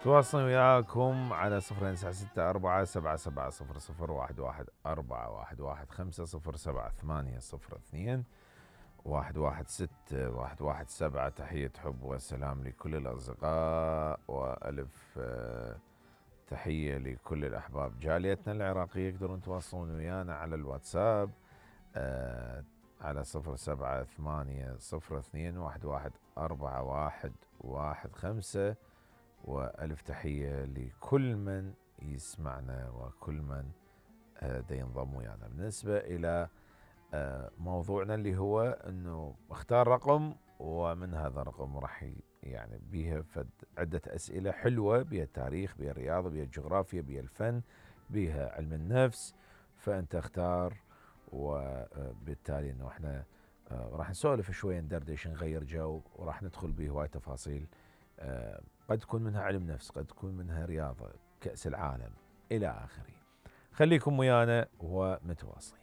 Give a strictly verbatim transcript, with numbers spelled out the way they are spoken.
تواصلوا وياكم على صفر تسعة ستة أربعة سبعة سبعة صفر صفر واحد واحد أربعة واحد واحد خمسة صفر سبعة ثمانية صفر اثنين واحد واحد ستة واحد واحد سبعة. تحية حب وسلام لكل الأصدقاء، وألف تحية لكل الأحباب. جاليتنا العراقية يقدرون يتواصلون ويانا على الواتساب على صفر سبعة ثمانية صفر اثنين واحد واحد أربعة واحد واحد خمسة. وألف تحية لكل من يسمعنا وكل من دا ينضم ويانا. بالنسبة إلى موضوعنا اللي هو أنه اختار رقم، ومن هذا الرقم راح يعني بيها عدة أسئلة حلوة، بيها التاريخ، بيها الرياضة، بيها الجغرافيا، بيها الفن، بيها علم النفس. فأنت اختار، وبالتالي أنه احنا راح نسولف شوية، ندردش، نغير جو، وراح ندخل بهواية تفاصيل قد تكون منها علم نفس، قد تكون منها رياضة، كأس العالم إلى آخره. خليكم ويانا ومتواصلين.